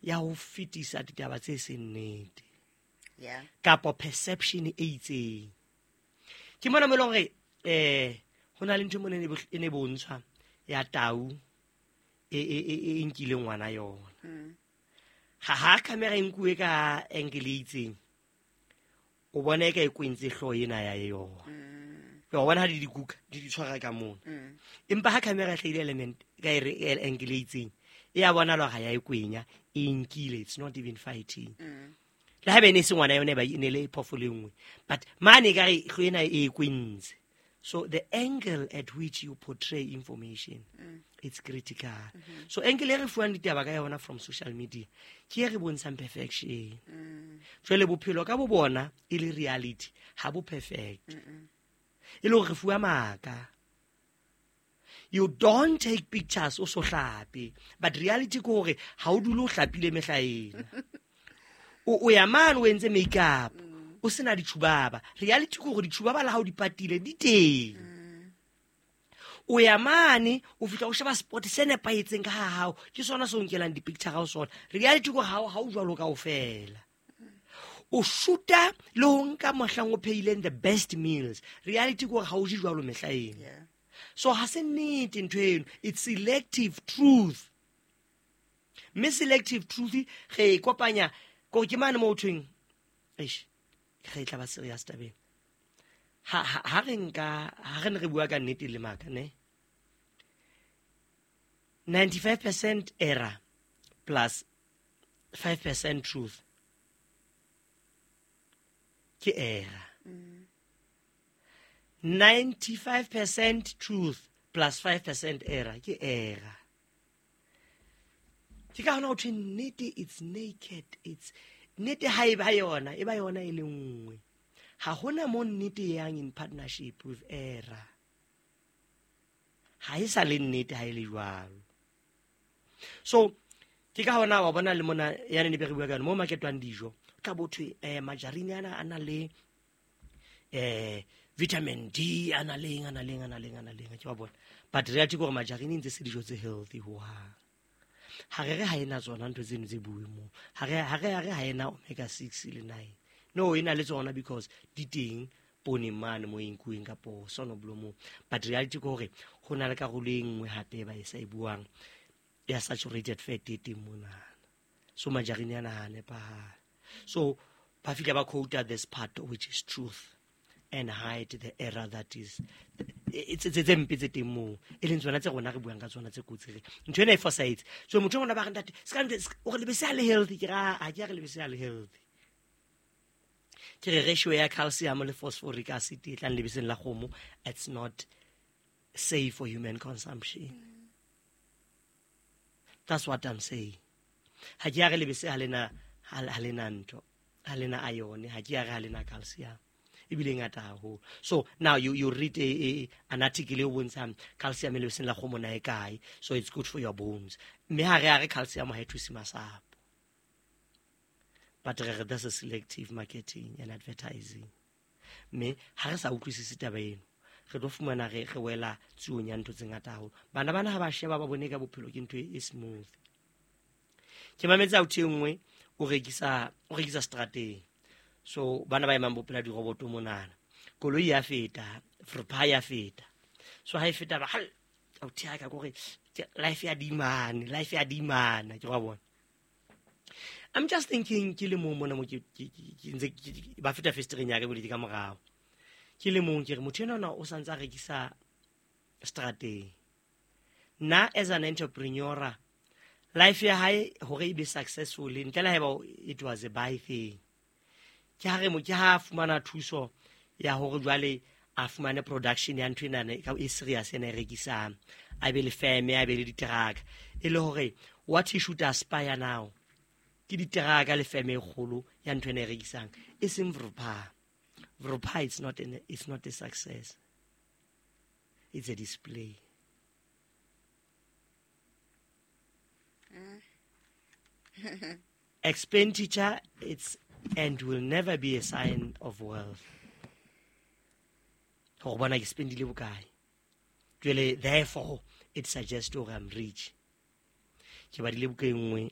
Ya ho fetisa ditaba tse seng nnete. Yeah. Kapo perception e itseng. Ke mona mo e leng hore ho na le ntho mona e ne bontshwa ya tau e nkileng ngwana yona. Ha camera e nkuwe ka angle e itseng, o bona e ka e kwentse hlooho ena ya yona. Wa bona ha di dikuka di di tshwara ka mona. Empa ha camera e hlahile element ka e re angle e itseng, e a bona ha ya e kwenya, e nkile, it's not even fighting. Le ha bene se ngwana yone ba ne le phoofolo e nngwe, but mane ka re hlo ena e kwentse. So the angle at which you portray information, it's critical. So angle e re fuwang ditaba ka yona from social media ke e re bontshang perfection. Jwale bophelo ka bo bona e le reality ha bo perfect. E le hore re fuwa maka. You don't take pictures o so hlape, but reality ke hore ha o dule o hlapile mehla ena. O ya mane o entse makeup, o sena ditjhubaba. Reality ke hore ditjhubaba le ha o di patile di teng. O ya mane o fihla o sheba spot se nepahetseng ka ha hao, ke sona se o nkelang di-picture ka ho sona. Reality ke hore ha o jwalo kaofela. O shoota le ho nka mohlang o phehileng the best meals. Reality ke hore ha o je jwalo mehla ena. Yeah. So ha se nnete ntho eno, it's selective truth. Mme selective truth re e kopanya ko ke mane mo ho thweng, eish, re tla ba serious tabeng. Ha re nka, ha re ne re bua ka nnete le maka, ne? 95% error plus 5% truth ke error. 95% truth plus 5% error ke error. Ke ka hona ho thwe nnete it's naked, it's nnete ha e ba yona, e ba yona e le nngwe. Ha hona mo nnete e yang in partnership with error. Ha e sa le nnete ha e le jwalo. So ke ka hona wa bona le mona ya ne be re bua ka yona, mo marketwang dijo, tla bo thwe, majarine ana a na le, vitamin D, a na leng, a na leng, a na leng, a na leng, ke wa bona. But reality ke hore majarine ntse se dijo tse healthy ho hang. Ha re re ha ena tsona ntho tseno tse bueng moo. Ha re, ha re, ha re ha ena omega 6 le 9. No, e na le tsona because di teng pooneng mane mo e nkuweng kapo sonoblomo. But reality ke hore ho na le karolo e nngwe hape ba e sa e buang ya saturated fat e teng monana. So majarine ana ha a nepahala. So ba fihla ba quote this part which is truth and hide the error that is tse mpe tse teng moo, e leng tsona tse rona re buang ka tsona tse kotsi re ntho ena e fosahetse. So motho ngwana ba re ntate, se ka ntho, se ka, o re lebese ha le healthy, ke ra, ha ke a re lebese ha le healthy. Ke re ratio ya calcium le phosphoric acid e tlang lebeseng la kgomo, it's not safe for human consumption. That's what I'm saying. Ha ke a re lebese ha lena, ha lena ntho, ha lena iron, ha ke a re ha lena calcium. Ebile e ngata haholo. So now you read an article e bontshang calcium e lebeseng la kgomo na e kae, so it's good for your bones. Mme ha re a re calcium ha e thuse masapo. But re re that's a selective marketing and advertising. Mme ha re sa utlwisise taba eno, re tlo fumana re wela tsuong ya ntho tse ngata haholo. Bana bana ha ba sheba ba bone ka bophelo ke ntho e smooth. Ke mametse authi e nngwe, o rekisa strateng. So bana ba emang bopela diroboto monana. Koloi ya feta, frpa ya feta. So ha e feta ba hal, authi ya ka kore life ya dimane, life ya dimana, ke wa bona. I'm just thinking ke le mong mona mo ke ntse ke ba feta festereng ya ka bole ke ka morao. Ke le mong ke re motho enwa o santse a rekisa strateng. Nna as an entrepreneur, life ya hae hore e be successful ntle le haeba it was a buy thing. Ke ha re mo, ke ha fumana thuso ya hore jwale a fumane production ya ntho ena e serious ena e rekisang. A be le firm, a be le diteraka. E le hore what he should aspire now ke diteraka le firm e kgolo ya ntho ena e rekisang. E seng Vrpa. Vrpa it's not a success. It's a display. Expenditure, it's and will never be a sign of wealth. Hore bona ke spendile bokae. Jwale, therefore, it suggests hore I'm rich. Ke badile buka e nngwe